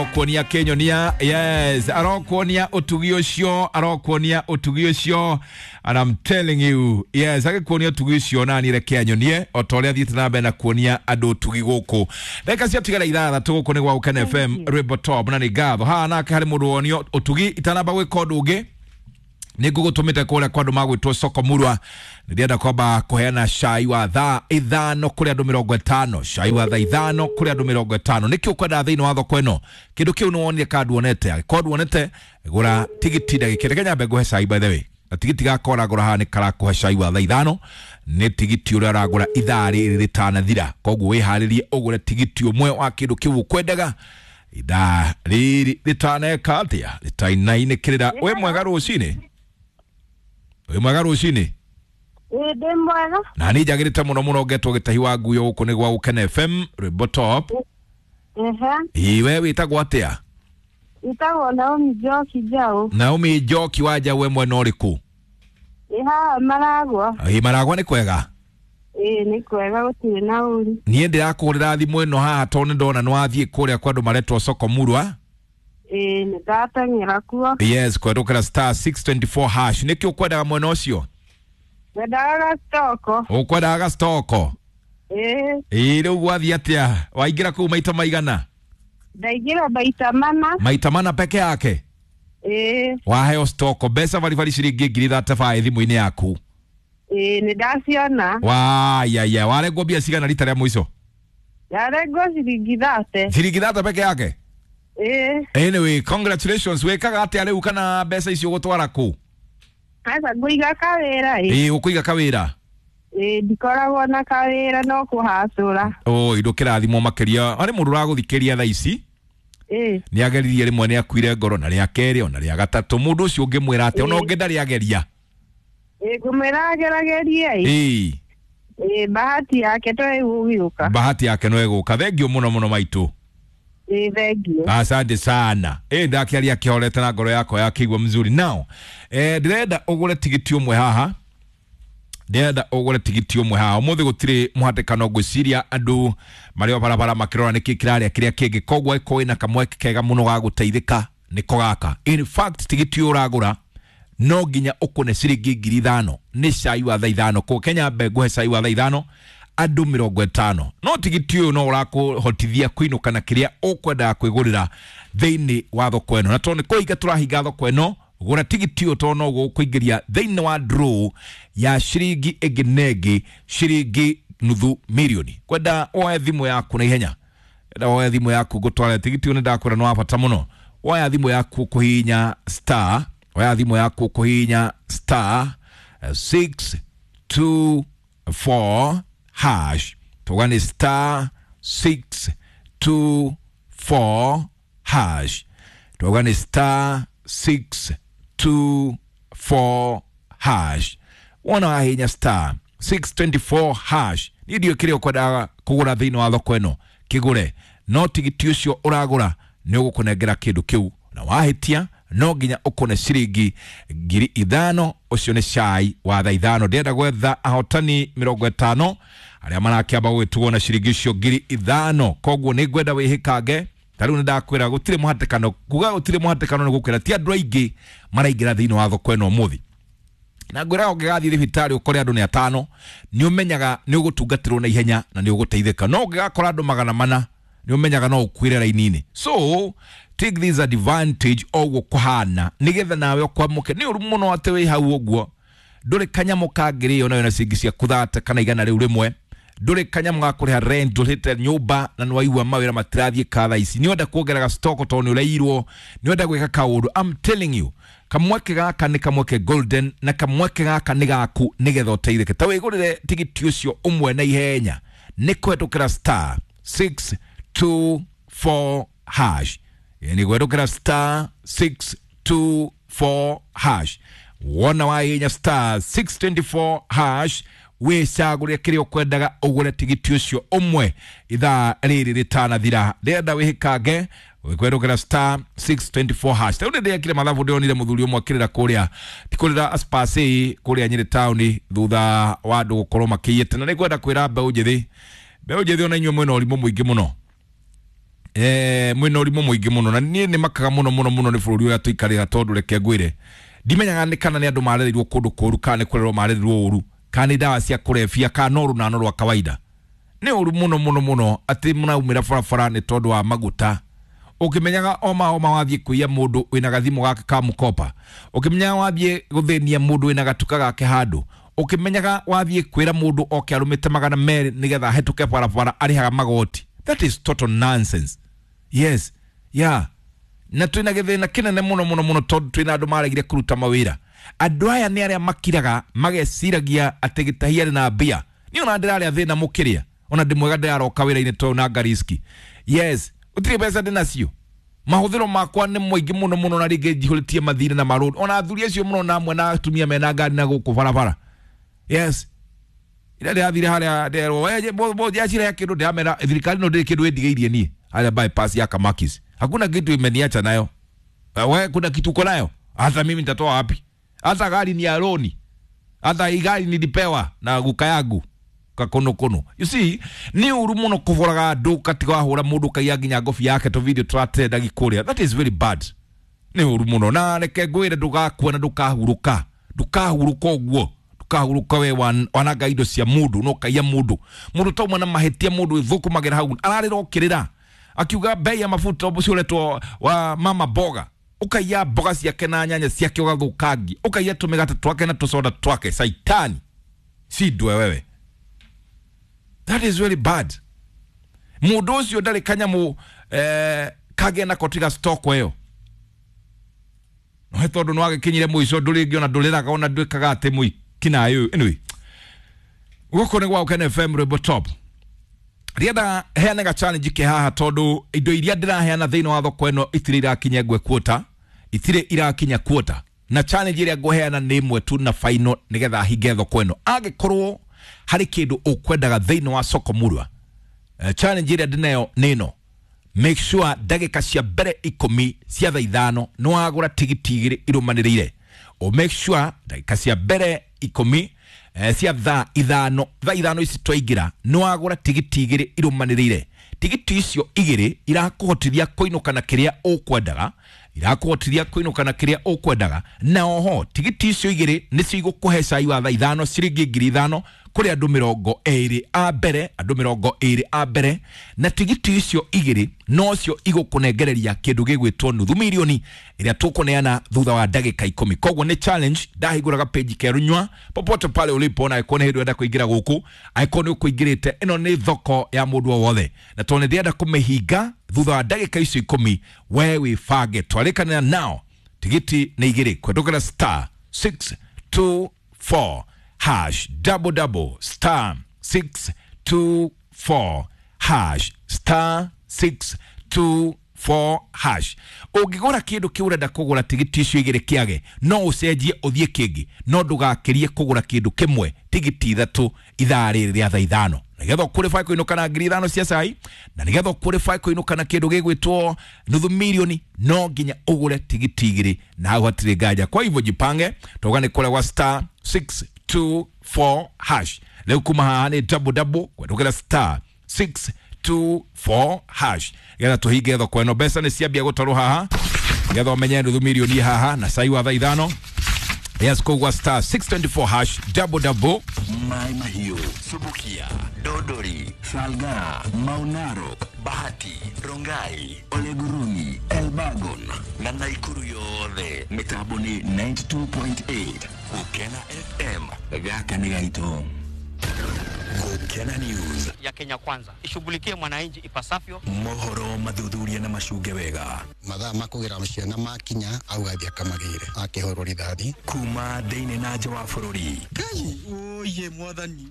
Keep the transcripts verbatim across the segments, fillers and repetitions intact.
Arokuonia Kenyonia, yes, arokuonia utugi ucio, arokuonia utugi ucio, and I'm telling you, yes, agikuonia utugi ucio na ni reke anyonie o ta uria thiete na mbere na kuonia andu utugi guku. Ndagika ciatigara ithathatũ gũkũ nĩ gwa Gũkena F M rwĩmbo top na nĩ ngatho. Haha nake harĩ mũndũ wonio ũtugi itanamba gwĩka ũndũ ũngĩ nĩ ngũgũtũmĩte kũrĩa kwa andũ magwĩtwo Soko Murwa. Nĩndĩrenda kwamba kũheana cai wa thaa ithano kũrĩ andũ mĩrongo ĩtano, cai wa thaa ithano kũrĩ andũ mĩrongo ĩtano. Nĩkĩ ũkwendaga thĩinĩ wa thoko ĩno? Kĩndũ kĩu nĩwonire kana nduonete? Angĩkorwo nduonete, gũra tigiti ndagĩka. Reke nyambe ngũhe cai by the way, na tigiti gakwa ũragũra haha nĩ karakũhe cai wa thaa ithano, nĩ tigiti ũrĩa ũragũra ithaa rĩrĩ rĩtanathira. Koguo wĩharĩrie ũgũre tigiti ũmwe wa kĩndũ kĩu ũkwendaga ithaa rĩrĩ rĩtaneka atĩa, rĩtainainĩkĩrĩra. Wĩ mwega rũcinĩ? Wĩ mwega rũcinĩ? Ĩĩ ndĩ mwega. Na niĩ njagĩrĩte mũno mũno ngetwo Gĩtahi wa Nguyo gũkũ nĩ gwa Gũkena F M rwĩmbo top. Ehe. Ĩĩ we wĩtagwo atĩa? Wĩtagwo Naomi Njoki Njaũ. Naomi Njoki wa Njaũ, we mwena ũrĩkũ? Ĩ haha Maragwa. Ĩ Maragwa nĩ kwega? Ĩĩ nĩ kwega, gũtirĩ na ũru. Niĩ ndĩrakũhũrĩra thimũ ĩno haha tondũ nĩ ndona nĩ wathiĩ kũrĩa kwa andũ maretwo Soko Murwa. Ĩĩ nĩ ndateng'era kuo. Yes, kũhetũkĩra star six twenty four hash. Nĩkĩ ũkwendaga mwena ũcio? Ngwendaga gacitoko. Ũkwendaga gacitoko? Ĩĩ. Ĩĩ rĩu gwathiĩ atĩa? Waingĩra kũu maita maigana? Ndaingĩra maita mana. Maita mana peke yake? Ĩĩ. Waheo stoko mbeca baribari ciringi ngiri thate baĩ thimũ-inĩ yaku. Ĩĩ nĩ ndaciona. Wayaya, warengwo mbia cigana rita rĩa mũico? Ndarengwo ciringi thate. Ciringi thate peke yake? Ĩĩ. Anyway, congratulations. Wĩkaga atĩa rĩu kana mbeca icio ũgũtwara kũ? Aca ngũiga kawĩra ĩ. Ĩĩ ũkũiga kawĩra? Ĩĩ ndikoragwo na kawĩra no kũhacũra. Oi ndũkĩrathimwo makĩria. Harĩ mũndũ ũragũthikĩria thaa ici? Ĩĩ. Nĩ ageririe rĩmwe nĩ akuire ngoro na rĩa kerĩ ona rĩa gatatũ. Mũndũ ũcio ũngĩmwĩra atĩa? Ona ũngĩ ndarĩ ageria. Ĩĩ ngũmwĩra ageragerie ĩ. Ĩĩ. Ĩĩ bahati yake to ĩgũgĩũka. Bahati yake no ĩgũka. Thengiũ mũno mũno maitũ. Ĩĩ thengiũ. Asante sana. Ĩĩ ndakĩaria kĩhorete na ngoro yakwa yakĩigua mzuri. Now, eh ndĩrenda ũgũre tigiti ũmwe haha. Ndĩrenda ũgũre tigiti ũmwe haha. Ũmũthĩ gũtirĩ mũhatĩkano ngwĩciria andũ marĩ o barabara makĩrora nĩkĩ kĩrarĩa kĩrĩa kĩngĩ. Koguo angĩkorwo wĩna kamweke kega mũno ga gũteithĩka nĩko gaka. In fact tigiti ũyũ ũragũra no nginya ũkũne ciringi ngiri ithano. Nĩ cai wa thaa ithano. Kũ Kenya mbe ngũhe cai wa thaa ithano andũ mĩrongo ĩtano. No tigiti ũyũ no ũrakũhotithia kũinũka na kĩrĩa ũkwendaga kwĩgũrĩra thĩinĩ wa thoko ĩno. Na tondũ nĩ kũhinga tũrahinga thoko ĩno, gũra tigiti ũyũ tondũ no gũkũingĩria thĩinĩ wa draw ya ciringi ĩngĩ na ĩngĩ ciringi nuthu mirioni. Kwenda woe thimũ yaku na ihenya. Kwenda woe thimũ yaku ngũtware tigiti ũyũ nĩ ndakwĩra nĩ wa bata mũno. Woya thimũ yaku kũhihinya star, woya thimũ yaku kũhihinya star six two four hash. Tuga nĩ star six two four hash. Tuga nĩ star six two four hash. Wona wahihinya star six twenty four hash. Niĩ ndiũĩ kĩrĩa ũkwendaga kũgũra thĩinĩ wa thoko ĩno, kĩgũre. No tigiti ũcio ũragũra nĩ ũgũkũnengera kĩndũ kĩu, na wahĩtia no nginya ũkũne ciringi ngiri ithano. Ũcio nĩ cai wa thaa ithano. Ndĩrenda gwetha ahotani mĩrongo ĩtano arĩa marakĩamba gwĩtugwo na ciringi icio ngiri ithano. Koguo nĩ ngwenda wĩhĩkange. Ta rĩu nĩ ndakwĩra gũtirĩ mũhatĩkano. Kuga gũtirĩ mũhatĩkano nĩ gũkwĩra ti andũ aingĩ maraingĩra thĩinĩ wa thoko ĩno ũmũthĩ. Na ngwĩraga ũngĩgathiĩ thibitarĩ ũkore andũ nĩ atano, nĩ ũmenyaga nĩ ũgũtungatĩrwo na ihenya na nĩ ũgũteithĩka. No ũngĩgakora andũ magana mana, nĩ ũmenyaga no ũkuĩre raini-inĩ. So take this advantage oguo kũhana nĩgetha nawe ũkwamũke. Nĩ ũru mũno atĩ wĩ hau ũguo ndũrĩ kanyamũ kangĩrĩo nayo na ciringi ciaku thate kana igana rĩu rĩmwe, ndũrĩ kanyamũ ga kũrĩha rent, ndũrĩte nyũmba na nĩ waigua mawĩra matirathiĩ ka thaa ici, nĩ wenda kuongerera stock tondũ nĩ ũrairwo, nĩ wenda gwĩka kaũndũ. I'm telling you, kamweke gaka nĩ kamweke golden na kamweke gaka nĩ gaku nĩgetha ũteithĩke. Ta wĩgũrĩre tigiti ũcio ũmwe na ihenya nĩ kũhetũkĩra star six two four hash. Nĩ kũhetũkĩra star six two four hash. Wona wahihinya star six twenty four hash, wĩcagũre kĩrĩa ũkwendaga ũgũre tigiti ũcio ũmwe ithaa rĩrĩ rĩtanathira. Ndĩrenda wĩhĩkange kũhetũkĩra star six twenty four hash. Ta rĩu nĩndĩrekire mathabu, ndĩronire mũthuri ũmwe akĩrĩra kũrĩa, ti kũrĩra Aspasi kũrĩa Nyĩrĩ taũni thutha wa andũ gũkorwo makĩiyĩte. Na nĩngwenda kwĩra mbeũ njĩthĩ, mbeũ njĩthĩ ona inyuĩ mwĩna ũrimũ mũingĩ mũno. eh mwina ũrimũ mũingĩ mũno na niĩ nĩ makaga mũno mũno mũno nĩ bũrũri ũrĩa tũikarĩra tondũ reke ngwĩre ndimenyaga nĩ kana nĩ andũ marereirwo kũndũ kũũru kana nĩ kũrerwo marereirwo ũru kana nĩ ndawa cia kũrebia kana no rũnano rwa kawaida. Nĩ ũru mũno mũno mũno atĩ mũraumĩra barabara nĩ tondũ wa maguta. Ũkĩmenyaga oma oma wathiĩ kũiya mũndũ wĩna gathimũ gake ka mũkopa, ũkĩmenyaga wathiĩ gũthĩnia mũndũ wĩna gatuka gake handũ, ũkĩmenyaga wathiĩ kwĩra mũndũ oke arũmĩte magana merĩ nĩgetha ahetũke barabara arĩhaga magoti. That is total nonsense. Yes, yeah. Na twina gĩthĩna kĩnene mũno mũno mũno tondũ twĩna andũ maregire kũruta mawĩra. Andũ aya nĩ arĩa makiraga mageciragia atĩ gĩtahi arĩ na mbia. Niĩ ona ndĩrarĩa thĩna mũkĩrĩa, ona ndĩ mwega ndĩraroka wĩra-inĩ tondũ na ngariski. Yes, gũtirĩ mbeca ndĩnacio. Mahũthĩro makwa nĩ maingĩ mũno mũno na rĩngĩ njihũrĩtie mathirĩ na marũni. Ona athuri acio mũno na amwe na atumia mena ngari na gũkũ barabara. Yes. Ira ndĩrathire harĩa nderwo we njacire kĩndũ ndĩramera thirikari no ndĩrĩ kĩndũ ĩndigĩirie niĩ harĩa bypass ya Kamakis. Hakuna kitu imeniacha nayo. Wewe kuna kitu uko nayo? Hata mimi nitatoa wapi? Hata gari ni ya loni. Hata hii gari nilipewa na guka yangu kakono kono. You see, ni uru muno kuboraga andu katiga wahura mundu kaiya nginya ngobi yake to video tratenda gikuria. That is very bad. Ni uru muno na reke ngwire ndugakua na ndukahuruka. Ndukahuruka uguo. Kahuruka we wanaga indo cia mundu no kaiya mundu. Mundu tauma na mahitia mundu ithukumagĩra hau ararĩra okĩrĩra akiuga bei ya mafuta ũcio ũretwo wa mama boga ukaiya mboga ciake na nyanya ciake ũgathũkangia ukaiya tũmĩgate twake na tũsoda twake. Saitani si ndwe wewe. That is really bad. Mundu ũcio ndarĩ kanyamũ eh, kagĩa nako tiga stock ĩyo no tondũ nĩwagĩkinyire mũico ndũrĩngĩ ona ndũrĩraga ona ndwĩkaga atĩ mũi kinayo. Anyway, gũkũ nĩ gwa Ukene F M Rwĩmbo Top. Rienda heanaga challenge ke haha tondu indo iria ndĩraheana thĩinĩ wa thoko ĩno itirĩ irakinya ngwe quota, itirĩ irakinya quota, na challenge ĩrĩa ngũheana nĩ ĩmwe tu na final nĩgetha hinge thoko ĩno. Angĩkorwo harĩ kĩndũ ũkwendaga thĩinĩ wa soko murwa, challenge ĩrĩa ndĩnayo nĩ ĩno: make sure ndagĩka cia mbere ikũmi cia thaa ithano nĩ wagũra tigiti igĩrĩ irũmanĩrĩire. O make sure ndagĩka cia mbere ikũmi eh, cia thaa ithano thaa ithano ici twaingĩra nĩ wagũra tigiti igĩrĩ irũmanĩrĩire. Tigiti icio igĩrĩ irakũhotithia kũinũka na kĩrĩa ũkwendaga, irakũhotithia kũinũka na kĩrĩa ũkwendaga, na oho tigiti icio igĩrĩ nĩcio igũkũhe cai wa thaa ithano ciringi ngiri ithano kũrĩ andũ mĩrongo ĩrĩ a mbere, andũ mĩrongo ĩrĩ a mbere, na tigiti icio igĩrĩ nocio igũkũnengereria kĩndũ gĩgwĩtwo nuthu milioni ĩrĩa tũkũneana thutha wa ndagĩka ikũmi. Koguo nĩ challenge ndahingũraga page kerũ nyua popote pale ulipo, na angĩkorwo nĩ hĩndĩ ũrenda kũingĩra gũkũ, angĩkorwo nĩ ũkũingĩrĩte, ĩno nĩ thoko ya mũndũ o wothe, na tondũ nĩ ndĩrenda kũmĩhinga thutha wa ndagĩka icio ikũmi, we wĩbange twarĩkanĩra nao. Tigiti nĩ igĩrĩ kũhetũkĩra star six two four hash double double star six two four hash star six two four hash. Ũngĩgũra kĩndũ kĩu ũrenda kũgũra tigiti icio igĩrĩ kĩage, no ũcenjie ũthiĩ kĩngĩ, no ndũgakĩrie kũgũra kĩndũ kĩmwe tigiti ithatũ ithaa rĩrĩ rĩa thaa ithano, nĩgetha ũqualify kũinũka na ngiri ithano cia cai, na nĩgetha ũqualify kũinũka na kĩndũ gĩgwĩtwo nuthu milioni no nginya ũgũre tigiti igĩrĩ, na hau hatirĩ nganja. Kwa hivyo jipange, toga nĩ kũrĩa gwa star six two four hash. Leo kuma haha nĩ double double kwendũkĩra star six two four hash getha tũhinge thoko ĩno. Mbeca nĩ ciambia gũtarwo haha getha ũmenye nuthu milioni haha na cai wa thaa ithano. Yes, kogwa star six twenty four hash double double. Mai Mahiu, Subukia, Dodori, Salga, Maunaro, Bahati, Rongai, Oleguruni, Elbagon na Naikuru yothe. Mitambo ni ninety two point eight Gukena F M. Gaka ni gaito. Gukena News ya Kenya Kwanza ishughulikie mwananchi ipasavyo. Mohoro mathuthuria na macuge wega. Mathaa makugira ciana makinya augathia akamagire akihurwo rithathi kuma thiini na nja wa bururi. Ngai oye mwathani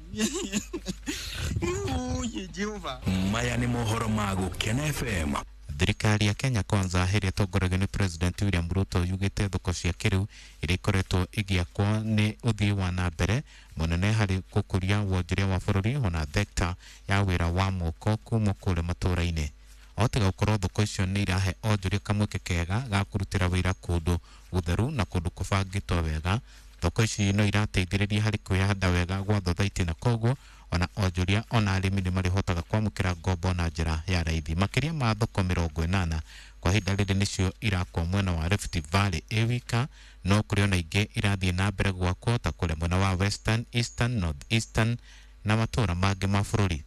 oye Jehova. Maya ni mohoro ma Gukena F M. Thirikari ya Kenya Kwanza ĩrĩa ĩtongoragio nĩ President William Ruto yugĩte thoko cia kĩrĩu iria ikoretwo igĩakwo nĩ ũthii wa na mbere mũnene harĩ gũkũria wonjoria wa bũrũri ona thekta ya wĩra wa moko kuma kũrĩa matũũra-inĩ. O tiga gũkorwo thoko icio nĩ irahe onjoria kamweke kega ga kũrutĩra wĩra kũndũ gũtheru na kũndũ kũbangĩtwo wega, thoko ici no irateithĩrĩria harĩ kwĩhanda wega gwa thothaitĩ na koguo Ona onjoria ona arĩmi nĩ marĩhotaga kwamũkĩra ngombo na njĩra ya raithi. Makĩria ma thoko mĩrongo ĩnana kwa ihinda rĩrĩ nĩcio irakwo mwena wa Rift Valley ĩ wika, no kũrĩ ona ingĩ irathiĩ na mbere gwakwo ta kũrĩa mwena wa Western, Eastern, North Eastern na matũũra mangĩ ma bũrũri.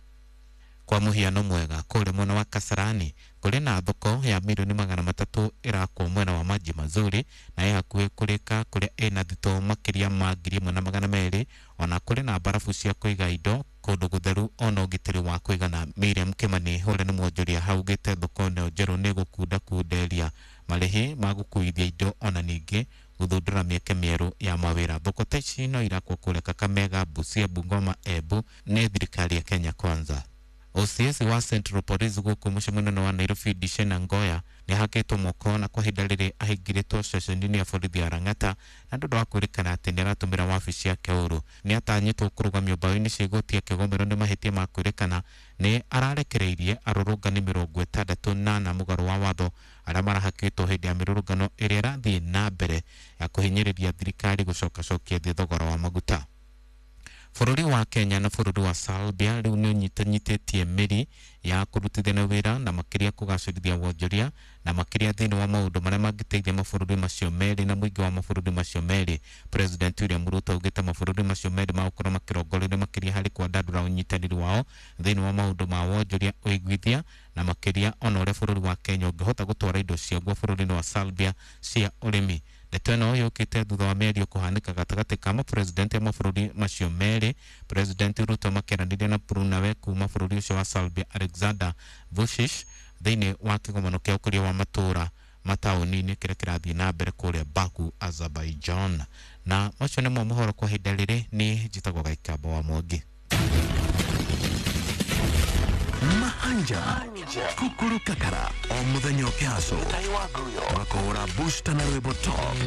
Kwa mũhiano mwega, kũrĩa mwena wa Kasarani kũrĩ na thoko ya milioni magana matatũ ĩrakwo mwena wa Maji Mazuri na ĩ hakuhĩ kũrĩka, kũrĩa ĩna thitoo makĩria ma ngiri ĩmwe na magana merĩ. Ona kũrĩ na mbarabu cia kũiga indo kũndũ gũtheru ona ũgitĩri wa kũigana. Miriam Kimani ũrĩa nĩ mwonjoria haugĩte thoko ĩno njerũ nĩ ĩgũkundakunderia marĩhi ma gũkuithia indo ona ningĩ gũthundũra mĩeke mĩerũ ya mawĩra. Thoko ta ici no irakwo kũrĩa Kakamega, Busia, Bungoma, Embu nĩ thirikari ya Kenya Kwanza. O C S wa Central Police gũkũ mũciĩ mũnene wa Nairobi Dishena Ngoya nĩ ahakĩtwo moko na kwa ihinda rĩrĩ ahingĩrĩtwo ceceni-inĩ ya borithi ya Lang'ata na ndũndũ wa kwĩrĩkana atĩ nĩ aratũmĩra wabici yake ũru. Nĩ atanyĩtwo kũrũgamio mbaũ-inĩ cia igoti akĩgomerwo nĩ mahĩtia ma kwĩrĩkana nĩ ararekereirie arũrũngani mĩrongo ĩtandatũ na ana mũgarũ wa watho arĩa marahakĩtwo hĩndĩ ya mĩrũrũngano ĩrĩa ĩrathiĩ na mbere ya kũhinyĩrĩria thirikari gũcokacokia thĩ thogora wa maguta. Bũrũri wa Kenya na bũrũri wa Serbia rĩu nĩ ũnyitanyitĩtie mĩri ya kũrutithania wĩra na makĩria kũgacĩrithia wonjoria na makĩria thĩinĩ wa maũndũ marĩa mangĩteithia mabũrũri macio merĩ na mũingĩ wa mabũrũri macio merĩ. President William Ruto augĩte mabũrũri macio merĩ magũkorwo makĩrongorerio makĩria harĩ kwandandũra ũnyitanĩri wao thĩinĩ wa maũndũ ma wonjoria, ũiguithia na makĩria ona ũrĩa bũrũri wa Kenya ũngĩhota gũtwara indo ciaguo bũrũri-inĩ wa Serbia cia ũrĩmi. Ndeto ĩno yũkĩte thutha wa mĩario kũhanĩka gatagatĩ ka mapresidenti a mabũrũri macio merĩ. President Ruto makĩaranĩria na Brunawe kuma bũrũri ũcio wa Serbia Alexander Vučić thĩinĩ wa kĩgomano kĩa ũkũria wa matũũra mataũni-inĩ kĩrĩa kĩrathiĩ na mbere kũrĩa Baku, Azerbaijan. Na macio nĩmo mohoro kwa ihinda rĩrĩ. Niĩ njĩtagwo Gaikamba wa Mwangi. Mahanja kukuru kakara o muthenya ũkĩhaco makũhũra booster na rwĩmbo top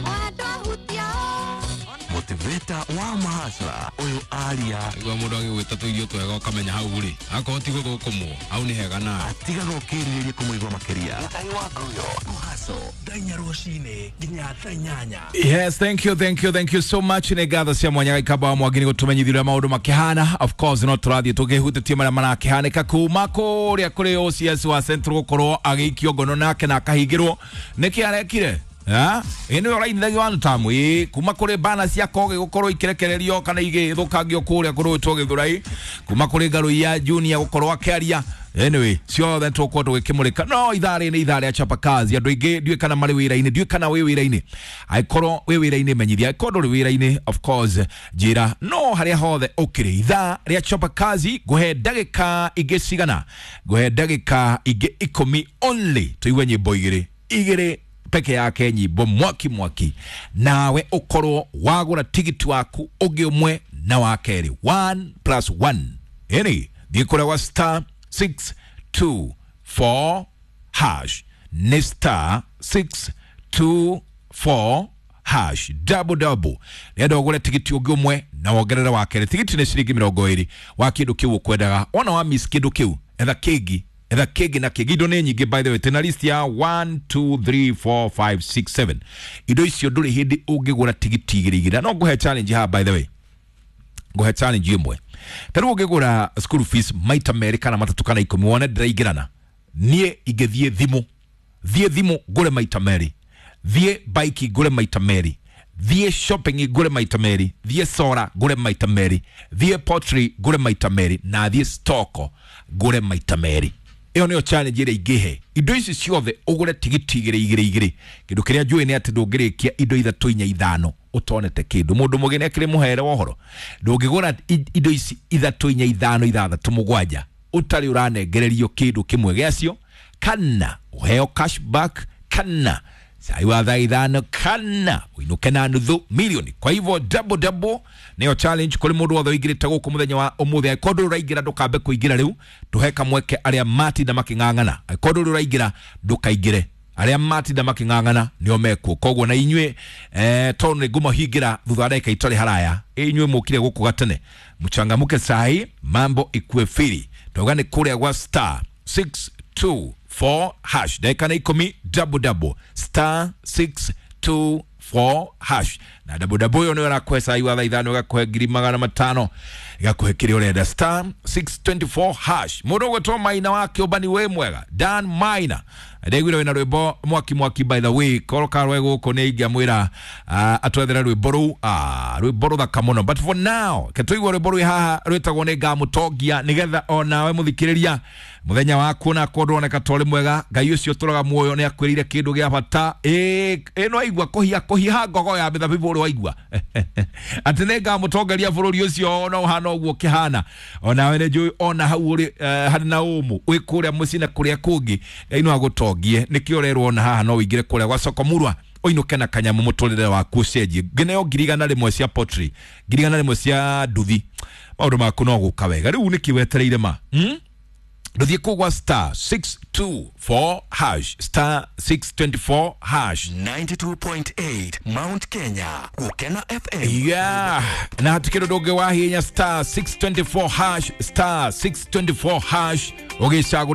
motivator wa mahasra ũyũ aria igua mũndũ agĩgwĩta tũirio twega ũkamenya hau rĩ akorwo ti gũthũkũmwo hau nĩ hega na atigaga ũkĩrirĩria kũmũigua makĩria. Kũhaco thaa inya rũcinĩ nginya thaa inyanya. Yes, thank you, thank you, thank you so much. Nĩ ngatho cia mwanya Gaikamba wa Mwangi nĩ gũtũmenyithia ũrĩa maũndũ makĩhana. Of course no tũrathiĩ tũkĩhutĩtie marĩa marakĩhanĩka kuma kũrĩa kũrĩ O C S wa Central gũkorwo agĩikio ngono nake na akahingĩrwo. Nĩkĩ arekire? Ha? Ĩ nĩwe ũrainithagia one time ĩ kuma kũrĩ bana cia Kogi gũkorwo ikĩrekererio kana igĩthũkangio kũrĩa kũrũĩtwo Gĩthũrai, kuma kũrĩ Ngaruiya Junior gũkorwo akĩaria. Anyway, ciothe tũgũkorwo tũgĩkĩmũrĩka. No ithaa rĩrĩ nĩ ithaa rĩa chapa kazi. Andũ aingĩ ndiũĩ kana marĩ wĩra-inĩ, ndiũĩ kana wĩ wĩra-inĩ. Angĩkorwo wĩ wĩra-inĩ menyithia, angĩkorwo ndũrĩ wĩra-inĩ of course njĩra. No harĩa hothe ũkĩrĩ, ithaa rĩa chapa kazi ngũhe ndagĩka ingĩ cigana? Ngũhe ndagĩka ingĩ ikũmi only tũigue nyĩmbo igĩrĩ igĩrĩ peke yake, nyimbo mwaki mwaki, nawe ũkorwo wagũra tigiti waku ũngĩ ũmwe na wa kerĩ, one plus one. Ĩni thiĩ kũrĩa gwa star six two four hash, nĩ star six two four hash double double. Nĩenda ũgũre tigiti ũngĩ ũmwe na wongerere wa kerĩ. Tigiti nĩ ciringi mĩrongo ĩrĩ wa kĩndũ kĩu ũkwendaga. Wona wa miss kĩndũ kĩu, etha kĩngĩ, etha kĩngĩ na kĩngĩ. Indo nĩ nyingĩ by the way, tena list ya one two three four five six seven. Indo icio ndũrĩ hĩndĩ ũngĩgũra tigiti igĩrĩ igĩrĩ. No ngũhe challenge haha by the way, ngũhe challenge ĩmwe. Ta rĩu ũngĩgũra school fees maita merĩ kana matatũ kana ikũmi wone ndĩraingĩrana, niĩ ingĩthiĩ thimũ, thiĩ thimũ ngũre maita merĩ, thiĩ bike ngũre maita merĩ, thiĩ shopping ngũre maita merĩ, thiĩ sora ngũre maita merĩ, thiĩ pottery ngũre maita merĩ, na thiĩ stoko ngũre maita merĩ. Ĩyo nĩyo challenge ĩrĩa ingĩhe. Indo ici ciothe ũgũre tigiti igĩrĩ igĩrĩ igĩrĩ. Kĩndũ kĩrĩa njũĩ nĩ atĩ ndũngĩrĩkia indo ithatũ inya ithano ũtonete kĩndũ. Mũndũ mũgĩ nĩ akĩrĩ mũhere wa ũhoro. Ndũngĩgũra indo ici ithatũ inya ithano ithathatũ mũgwanja ũtarĩ ũranengererio kĩndũ kĩmwe gĩacio, kana ũheo cashback, kana cai wa thaa ithano, kana ũinũke na nuthu milioni. Kwa hivyo double double nĩyo challenge kũrĩ mũndũ wothe ũingĩrĩte gũkũ mũthenya wa ũmũthĩ. Angĩkorwo ndũrĩ ũraingĩra ndũkambe kũingĩra rĩu, tũhe kamweke arĩa matinda makĩng'ang'ana. Angĩkorwo ndũrĩ ũraingĩra ndũkaingĩre, arĩa matinda makĩng'ang'ana nĩo mekuo. Koguo na inyuĩ eh, tondũ nĩ ngũmahingĩra thutha wa ndagĩka itarĩ haraya, inyuĩ mũkire gũkũ gatene, mchangamuke sahi, mambo ikue firi. Twauga nĩ kũrĩa gwa star six two four hash, ndagĩka nĩ ikũmi, double double, star six two four hash na double double ĩyo nĩyo ĩrakũhe cai wa thaa ithano, ĩgakũhe ngiri magana matano, ĩgakũhe kĩrĩa ũrenda, star six twenty four hash. Mũndũ ũgwĩtwo Maina wa Kĩũmbani, wĩ mwega Dan Maina, ndaiguire wĩna rwĩmbo mwaki mwaki. By the way, korwo karwe gũkũ nĩ ingĩamwĩra uh, atwethere rwĩmbo rũu, ah, rwĩmbo rũthaka mũno. But for now ke tũigue rwĩmbo rwĩ haha rwĩtagwo nĩ ngamũtongia, nĩgetha onawe mũthikĩrĩria mũthenya waku onakorwo ndũroneka ta ũrĩ mwega, Ngai ũcio ũtũraga muoyo nĩ akwĩrĩire kĩndũ gĩa bata. Ĩ ĩno aigua kũhia kũhiha ngogo ya mĩthabibũ ũrĩ waigua atĩ nĩ ngamũtongoria bũrũri ũcio ona ũhana ũguo ũkĩhana. Onawe nĩ njũĩ ona hau ũrĩ eh, harĩ na ũmũ wĩ kũrĩa mũciĩ na kũrĩa kũngĩ, Ngai no agũtongie. Nĩkĩo ũrerwo ona haha no ũingĩre kũrĩa gwa soko murwa ũinũke na kanyamũ, mũtũrĩre waku ũcenjie, ngineo ngiri igana rĩmwe cia pottery, ngiri igana rĩmwe cia nduthi, maũndũ maku no gũka wega. Rĩu nĩkĩ wetereire ma hmm? Ndũthiĩ kũu gwa star six two four hash, star six twenty four hash. ninety-two point eight Mount Kenya Gukena F M. Yeah, na hatikĩ ũndũ ũngĩ wa hinya, star six twenty four hash, star six twenty four hash, ũgĩcagũra.